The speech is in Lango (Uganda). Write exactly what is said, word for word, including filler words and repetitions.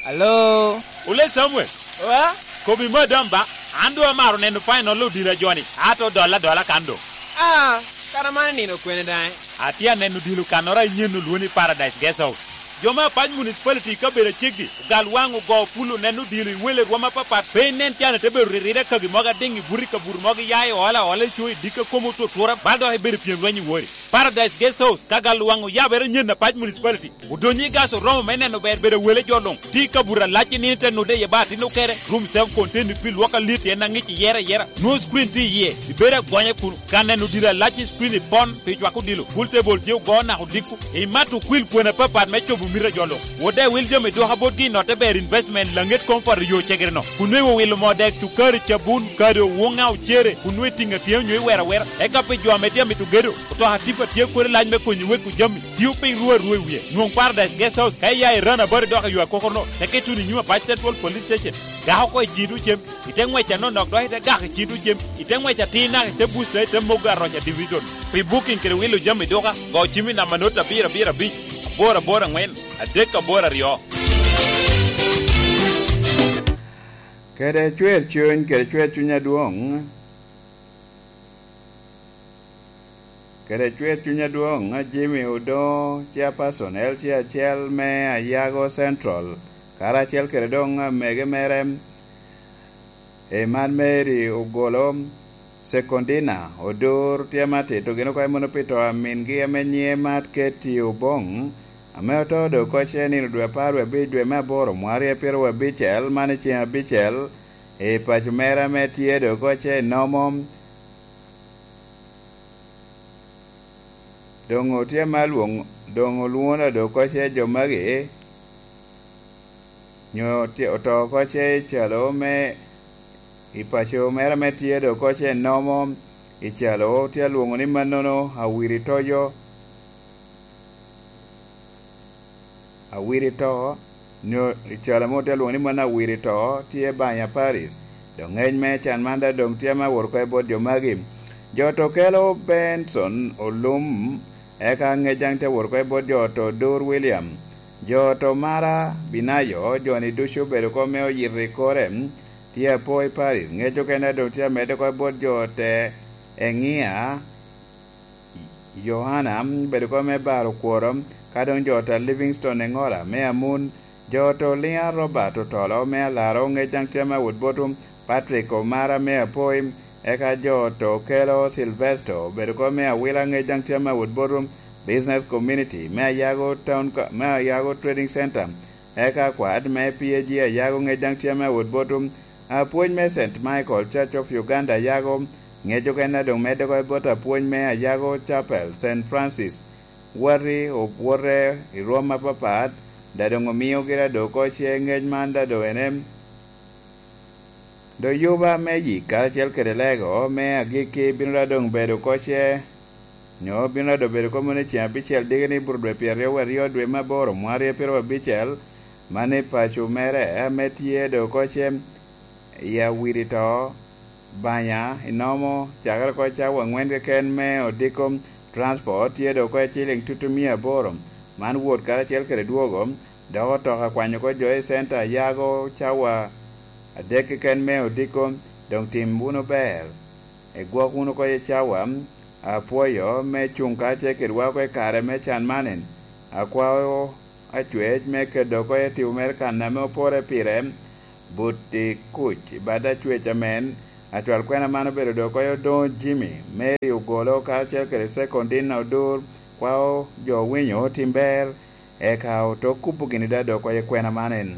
Alo? Ole Samuel. Wa? Kobi madam ba, an doŋ amaro neno final odilo a joni, ato dolla adola kan doŋ. Ah, kara man nino kwene daŋ? Atye aneno odilo kannoro a inyen olwoni Paradise Guest House. Jo me Apac Municipality i kabedo aceggi, ogal waŋ ogo pul oneno odilo i wele rwom apapat, pe inen can ite bedo riride kagi mogo adiŋ i buto i kabuto mogo iya i ola ola i co i dikka kom otutura, bal dok ibedo pyem lweny i wori. Paradise Guest House, ka gal waŋ oyabere nyen Apac Municipality. Odonyo i gas oromo me neno ber bedo wele jo luŋ. Tye i kabuto alac i nino ite nude iye ba atin okere. Room self contained pi lwok alit en aŋic iyere ayera. Nwoŋo screen tye iye. Ibedo agonya kun ka neno odilo alac i screen i pon pi cwako odilo. Pool table tye ogo naka odiko. Imato okwil kwena apapat me cobo mito a jo luŋ. Wode wil jami dwoka botgi i notte ber investment laŋet comfort i yo cegere no. Kun nweŋo owilo moo dek cukari cabun kado wuŋa ocere kun nweŋo itiŋo atyea onyo iwero awera. Eka pi jo ame tye amito gedo, otoka tipa tye kodi lac me konyo weko jami. Tio piny ru arua i wie. Nwoŋ Paradise Guest House ka iya i Rana Bari dok i yo akokorno, te keto wunu i nyim Apac Central Police Station. Gak oko i Cido Cem, ite ŋwec anonok dok ite gak i Cido Cem, ite ŋwec atir naka ite Busta ite Mogo Aroca Division. Pi booking kede wilo jami duka, go cim i namba not abiro abiro abic, aboro aboro aŋwen, adek aboro aryo. Kede cwer cuny, kede cwer cuny adwoŋ. Kede cwer cuny adwoŋ, Jimmy Odongo, chairperson L C acel me Ayago Central, karacel kede doŋ amege mere, Eman Mary Ogolo, Sekondina Odur, tye ma tito gin oko i muno pi to a mingi ame nyiŋe Mat Ketty Oboŋ, ame oto doŋ oko ce nino dwe apar wie abic dwe me aboro mwaka aryo pyeraryo abicel, man i ceŋ abicel, i paco mere ame tye doŋ oko ce i Nomo. Doŋ otye ma lwoŋ-, doŋ olwoŋo doŋ oko ce jo magi, nyo tye, oto oko ce i calo me, i paco mere ame tye doŋ oko ce i Nomo, i calo tye alwoŋo ni mannono Awiri Toyo. Awiri to, nyo i calo ame otye alwoŋo ni mano Awiri to, tye Banya Paris. Doŋ ŋec me can man daŋ doŋ tye ame awot oko i bot jo magi. Jo to kelo Benson Olum, eka ŋec daŋ tye awot oko i bot jo to Dur William. Jo to Mara Binayo, joni ducu obedo oko me oyito i kore, tye apo i Paris. Ŋec okene doŋ tye amedde oko i bot jo te Eŋia, Yohana, bedo kop me baro kworo, ka doŋ jo ta Livingstone Eŋola me Amun, jo to Liŋa Robert Otolo me Alaro, ŋec daŋ tye me awot bot Patrick Omara me Apoi, eka jo to Kelo Silvesto, bedo kop me Awila, ŋec daŋ tye me awot bot Business Community me Ayago Town Co-, me Ayago Trading Center, eka kwat me P A G Ayago, ŋec daŋ tye me awot bot Apwony me Saint Michael Church of Uganda Ayago, ŋec okene a doŋ medde oko i bot apwony me Ayago Chapel, Saint Francis, wati obwote i rwom apapat, da doŋ omio gira doŋ oko ce ŋec man da doŋ ene. Doŋ yuba me yik karacel kede lego me agikki bino da doŋ bedo oko ce, nyo bino da doŋ bedo oko mano i ceŋ abicel diki ni bur dwe pyeraryo aryo dwe me aboro mwaka aryo pyeraryo abicel, man i paco mere ame tye doŋ oko ce. I Awiri to, Banya, inomo, cakere oko i cawa aŋwen keken me odiko, transport tye doŋ oko i ciliŋ tutu mia aboro. Man wot karacel kede dwogo, dok otoka kwanyo oko jo i center Ayago cawa adek keken me odiko, doŋ tim wunu ber. Igwok wunu oko i cawa, apwoyo me cuŋ kacel kedwa oko i kare me can man. Akwao Acwec me kedo oko i tipo mere kan ame opore pire, but i kuc i bad Acwec amen. Acwal kwena man obedo doŋ oko i Odoŋo Jimmy, Mary Ogolo, karacel kede Sekondina Odur, kwao jo owinyo otim ber, eka oto kubo gini da doŋ oko i kwena man en.